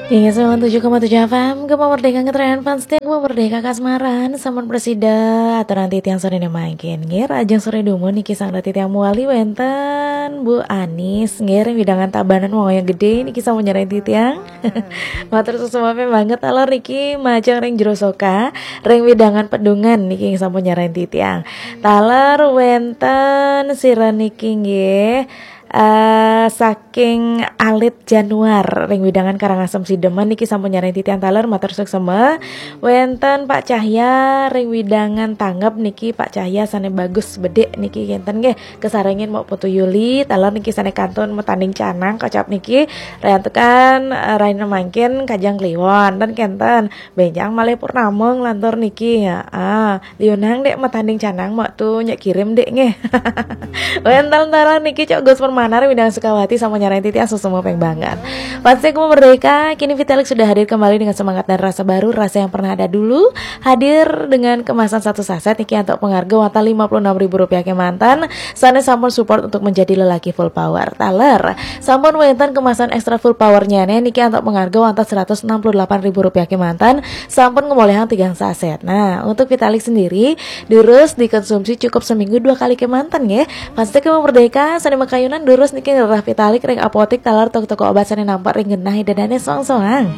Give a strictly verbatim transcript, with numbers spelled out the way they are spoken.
Inggih sembilan tujuh koma tujuh F M, Gema Merdeka, ngetren fans setia Gema Merdeka Kasmaran, sampun presida aturan titiang sore mangkin. Nggih, rahajeng sore dumun niki sareng titiang mewali wenten Bu Anis, nggih, ring wewidangan Tabanan Wangaya Gede niki sampun nyarengin titiang. Matur suksma banget, taler niki majeng ring Jero Soka, ring wewidangan Pedungan niki sampun nyarengin titiang. Taler wenten sira niki nggih, eh, saking Alit Januar ring wewidangan Karangasem Sidemen niki sampun nyarengin titiang, taler matur suksma. Wenten Pak Cahya ring wewidangan Tanggep niki, Pak Cahya sane bagus bedik niki kenten nggih. Kasarengin Mbok Putu Yuli, taler niki sane kantun metanding canang kocap niki, riantukan, eh, rahina mangkin Kajeng Kliwon ten kenten. Benjang malih purnama nglantur niki. Heeh. Liunang dek metanding canang, Mbok Tu nyek kirim dek nggih. Wenten taler niki Cok Gus Permana ring wewidangan Sukawati sampun nyarengin titiang, suksma banget. Fans setia Gema Merdeka, kini Vitalik sudah hadir kembali dengan semangat dan rasa baru, rasa yang pernah ada dulu, hadir dengan kemasan satu saset niki antuk pangarga wantah lima puluh enam ribu rupiah kemanten, sane sampun support untuk menjadi lelaki full power. Taler, sampun wenten kemasan extra full powernya niki antuk pangarga wantah seratus enam puluh delapan ribu rupiah kemanten, sampun ngolihang tigang saset. Nah, untuk Vitalik sendiri, durus dikonsumsi cukup seminggu dua kali kemanten nggih. Fans setia Gema Merdeka, sane makayunan durus niki ngrereh Vitalik ring apotik taler toko-toko obat sane nampak ring genah ida dane soang-soang.